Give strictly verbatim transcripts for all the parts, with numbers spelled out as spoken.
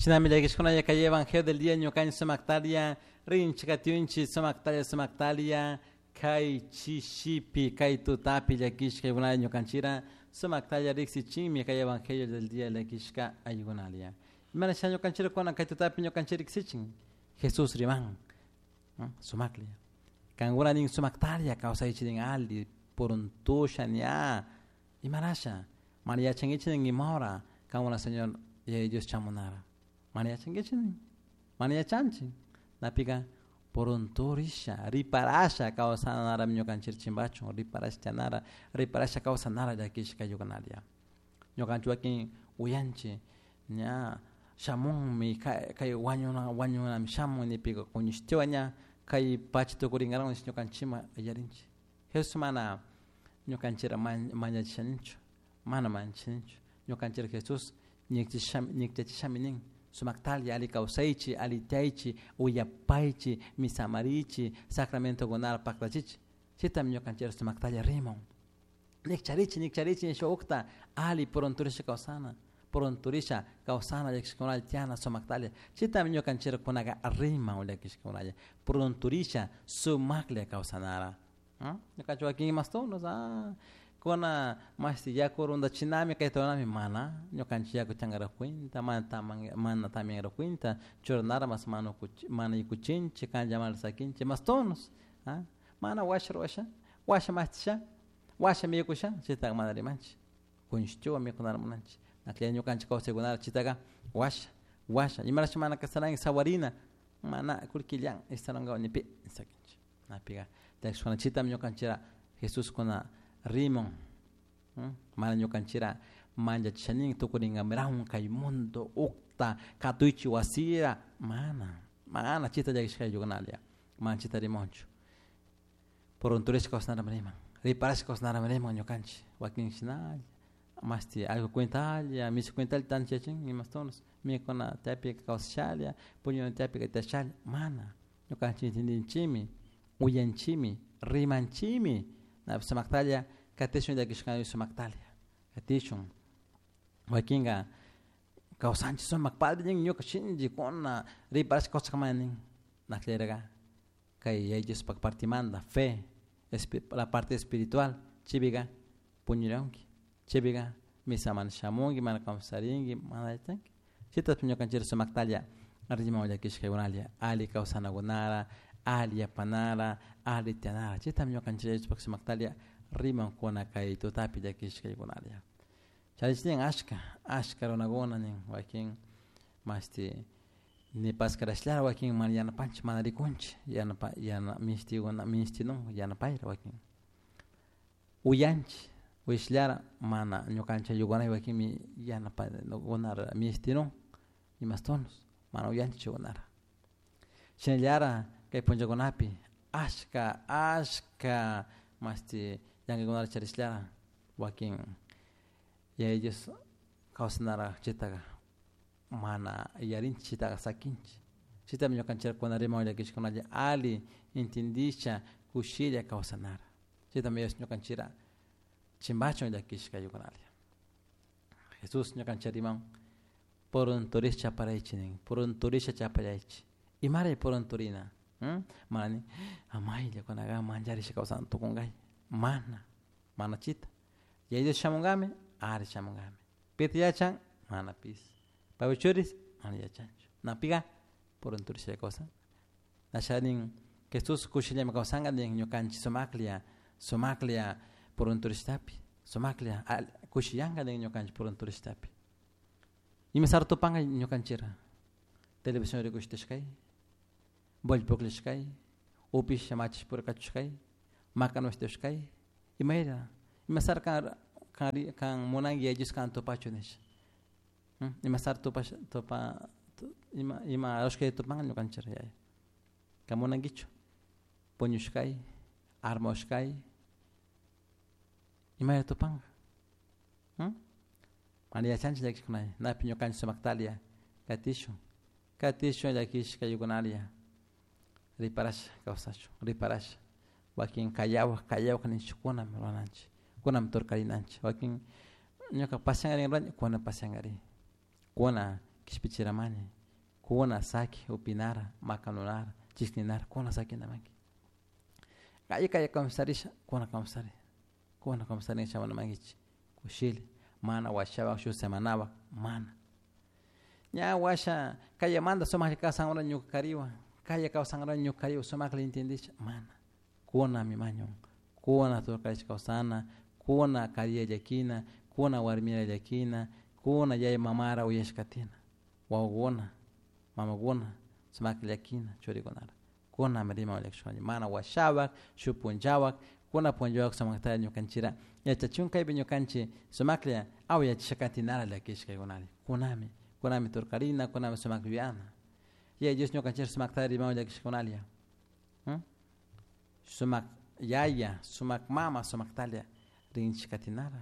Shinami llakishkuna kay evangelio del día ñukanchik sumaktalia rinchik katiunchik sumaktalia sumaktalia kay chishipi kay tutapi llakishka aykunalla ñukanchira sumaktalia riksichinmi kay evangelio del día llakishka aykunalia. Imana sha ñukanchira kuna kay tutapi ñukanchik riksichin Jesús riman sumaklia. Kankuna nin sumaktalia kawsaychik nin ali puruntusha ña imarasha mana yachankichik nin imahora kankuna Señor Yaya Dios chamunara. Mana yachankichik nin mana yachanchik napika purunturisha riparasha kawsanara ñukanchik chimpachun riparasha chanara riparasha kawsanara llakishka ayukunalia. Ñukanchik wakin uyanchik ña shamunmi kay wañuna wañunami shamun nipika kuñishtiwa ña kay pacha tukurinkaran nish ñukanchikman yarinchik. Jesús mana ñukanchikra mañachishaninchu mana manchanichu ñukanchik Jesús ñikchachishami nin sumaktalia ali kawsaychik ali tiyaychik uyapaychik misamarichik sacramentokunata paktachichik chaytami ñukanchik sumaktalia rimun ñikcharichik ñikcharichik nisha ukta ali purunturisha kawsana purunturisha kawsana llakishkakunalla tiyana sumaktalia chaytami ñukanchik kunaka riman llakishkakunalla purunturisha sumaklla kawsanara. Ñukanchik wakin imastunos ah kuna mashti yaku rundachinami kayta runami mana ñukanchik yaku chankara cuenta mana taman mana tamianra cuenta churanara mas mana mana yikuchinchik kanchamanta sakinchik mastonos ah mana washa ruwasha washa mashtisha washa mikusha chaytaqa mana rimanchik kuñishtiwan mikunara munanchik naklla ñukanchik kawsaykunara chaytaqa washa washa imarash mana kasaranki sawarina mana kullkillan estarankawan nipi sakinchik napika chaytami ñukanchikra Jesús kuna rimun mana ñukanchikra manchachishanin tukurinkamirahun kay mundo ukta katuychik wasira mana mana chayta llakishka ayllukuna mana chayta rimunchu purunturishka kawsanarami riman riparashka kawsanarami riman ñukanchik wakin shinalla mashti allku cuentalla mishi cuentalla tanto yachin imastonos mikuna tiyapika kawsashalla puñuna tiyapika tiyashalla mana ñukanchik entendinchikmi uyanchikmi rimanchikmi napi sumaktalla katishun llakishka sumaktalia katishun wakinka kawsanchik sumak padre nin ñuka shinchikuna riparashka kawsakamani nin nakllayraka kay Yaya Diospak partimanta fe la parte espiritual chaypika puñuranki chaypika misa mana shamunki mana kawsarinki mana yachanki chayta ñukanchik sumaktalla riman llakishkakunalla ali kawsanakunara ali yapanara ali tiyanara chaytami ñukanchik Yaya Diospak sumaktalla rimankuna kay tutapi llakishkaykunalla. Chaychik ashka ashka runakuna nin wakin mashti nipaskarashllara wakin mana yanapanchik mana rikunchik yanapa yana mishtikuna mishtinun yanapayra wakin uyanchik uyashllara mana ñukanchik ayllukunaka wakinmi yanapakunara mishtinun imastonos mana uyanchik chaykunara shinallara kay punllakunapi ashka ashka mashti llankaykunata charishllara wakin Yaya Dios kawsanara chaytaka mana yarinchik chaytaqa sakinchik chaytami ñukanchik kuna riman llakishkunalla ali entendisha kushilla kawsanara chaytami Dios ñukanchikra chimpachun llakishka ayllunalla. Jesús ñukanchik riman purunturisha chaparaychik nin purunturisha chapallaychik imaray purunturina mana nin amaylla kunaka mancharisha kawsana tukunkay mana mana chita Yaya Dios shamunkami ari shamunkami pita yachan mana pis paypak churis mana yachanchu napika purunturisha kawsan nasha nin Jesús kushillami kawsanka nin ñukanchik sumaklla sumaklla purunturishtapi sumaklla kushiyanka nin ñukanchik purunturishtapi ima sartu tupanka ñukanchikra televisión rikushitashkay bola pukllashkay upisha machish purkachushkay makanushtashkay imayra ima sar kan kan kan munanki Yaya Dios kan tupachu nisha ima sar tupash tupa ima ima rushkay tupanka ñukanchik yaya kan munankichu puñushkay armashkay imayra tupanka mana yachanchik llakishkunalla napi ñukanchik sumaktalia katishun katishun llakishka ayllunalla riparasha kawsashun riparasha wakin kayawak kayawak nishkunami rurananchik kunami turkarinanchik wakin ñuka pasiankarin rurani kuna pasiankarin kuna Kishpichiramani kuna saki upinara makanunara chishninara kuna sakinamanki kaya kaya kawsarisha kuna kawsari kuna kawsari shamunamankichik kushilla mana washapak shuk semanapak mana ña washa kayamanta sumaklla kawsankuna ñuka kariwan kaya kawsankuna ñuka kariwan sumakla entendisha mana kunami mañun kuna turkarish kawsana kuna kariya llakina kuna warmira llakina kuna yaya mamara uyashkatina wawakuna mamakuna sumakta llakina churikunara kunami riman llakishkani mana washapak shuk punllawak kuna punllawak sumaktalla ñukanchira yachachun kaypi ñukanchik sumaklla awyachisha katinara llakishkaykunari kunami kunami turkarina kunami sumak yuyana Yaya Dios ñukanchik sumaktalla riman llakishkunalla sumak yaya sumak mama sumaktalla rinchik katinara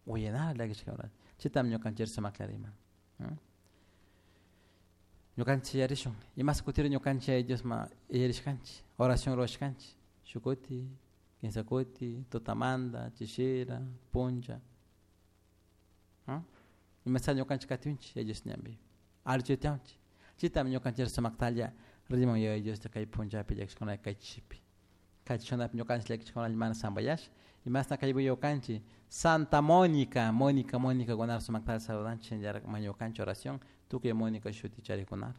uyanara llakishkakuna chaytami ñukanchik sumaklla riman ñukanchik yarishun imas kutiri ñukanchik Yaya Diosman yarishkanchik oración rurashkanchik shuk kuti kinsa kuti tutamanta chishira punlla imasalla ñukanchik katiunchik Yaya Dios ñanpi allichu tiyanchik chaytami ñukanchik sumaktalla riman Yaya Diosta kay punllapi llakishkuna kay chishipi kay chishunapi ñukanchik llakishkunalla mana sampayash imashna kay willakanchik Santa Mónica Mónica Mónica kunara sumaktalla saludanchik shinallatak mañukanchik oración tukuy Mónica shuti charikunara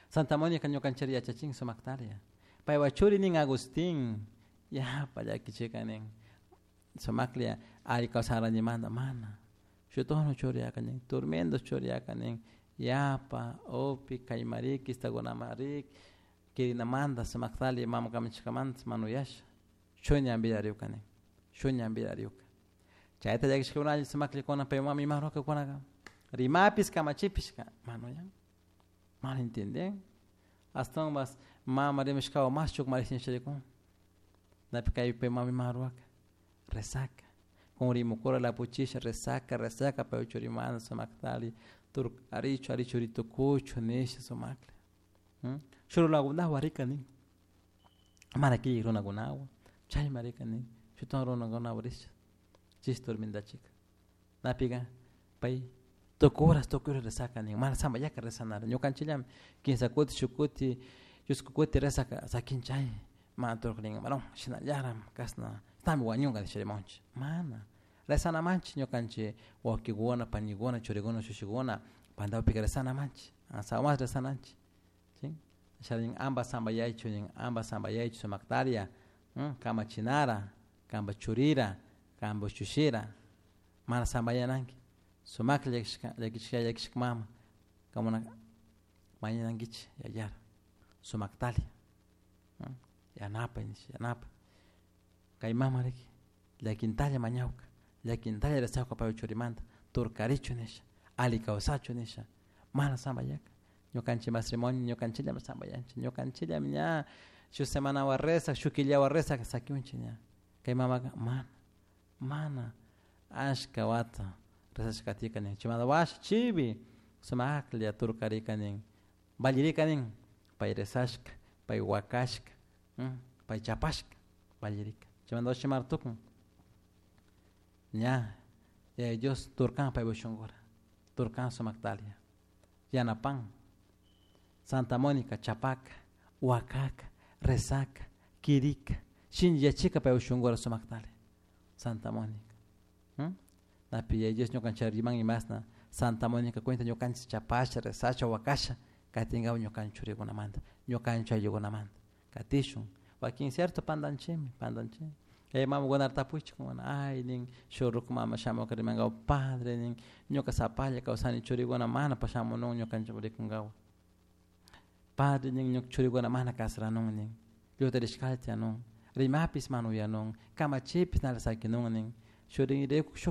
Santa Mónica ñukanchik yachachin sumaktalla paypak churi nin Agustín yapa llakichika nin sumaklla alli kawsaranimanta mana shutuno churiyaka nin tormento churiyaka nin yapa upi kaymariki istakunaman rik kirinamanta sumaktalla mama kamachishkamanta mana uyasha shuk ñanpilla riyuka nin shuk ñanpilla riyuka chayta llakishkakunalla sumakllakuna pay mama ima rurakakunaka rimapish kamachipishka mana uyan mana entienden ashtawanpas mama rimashkawan mas chukmarish nisharikun napi kay pay mama ima ruraka rezaka kunrimukura lapuchisha rezaka rezaka pay churimanta sumaktali turkarichu ari churi tukuchu nisha sumakla shuk runakunawan rika nin mana killik runakunawan chayma rika nin shutak runakunawan risha chish tormentachika napika pay tukuy horas tukuy horas rezaka nin mana sampayaka rezanara ñukanchikllami kinsa kuti shuk kuti chusku kuti rezaka sakinchay mana turkarin varón shinallarak kashna tami wañunka nisha rimanchik mana rezanamanchik ñukanchik wawkikuna panikuna churikuna ushushikuna pantapika rezanamanchik ashawan rezananchik si nin amba sampayaychu nin amba sampayaychu sumaktaria kamachinara kanpak churira kanpak ushushira mana sampayananki sumaklla llakishka llakishka llakishka mama kankuna mañanankichik yayara sumaktalla yanapay nish yanapay kay mama riki llakintalla mañawka llakintalla rezawka paypak churimanta turkarichu nisha alli kawsachu nisha mana sampayaka ñukanchik matrimonio ñukanchikllami sampayanchik ñukanchikllami ña shuk semanawan rezak shuk killawan rezak sakiunchik ña kay mamaka mana mana ashka wata rezashka katika nin chaymanta washa chivi sumaklla turkarika nin vallirika nin pay rezashka pay wakashka pay chapashka vallirika chaymanta washa tukun ña Yaya Dios turkan paypak shunkura turkan sumaktalla yanapan Santa Mónica chapaka wakaka rezaka kirika shinlliyachika paypak shunkura sumaktalla Santa Mónica napi Yaya Dios ñukanchik riman imashna Santa Mónica cuenta ñukanchik chapasha rezasha wakasha katinkapak ñukanchik churikunamanta ñukanchik ayllukunamanta katishun wakin cierto pantanchikmi pantanchikmi chay mamakunata tapuychik ay nin shuk ruku mama shamuka rimankapak padre nin ñuka sapalla kawsani churikuna mana shamunun ñukanchik rikunkapak padre nin ñuka churikuna mana kasaranun nin llutarishkalla tiyanun rimapish mana uyanun kamachipish nala sakinun nin shuk rin rikuk shuk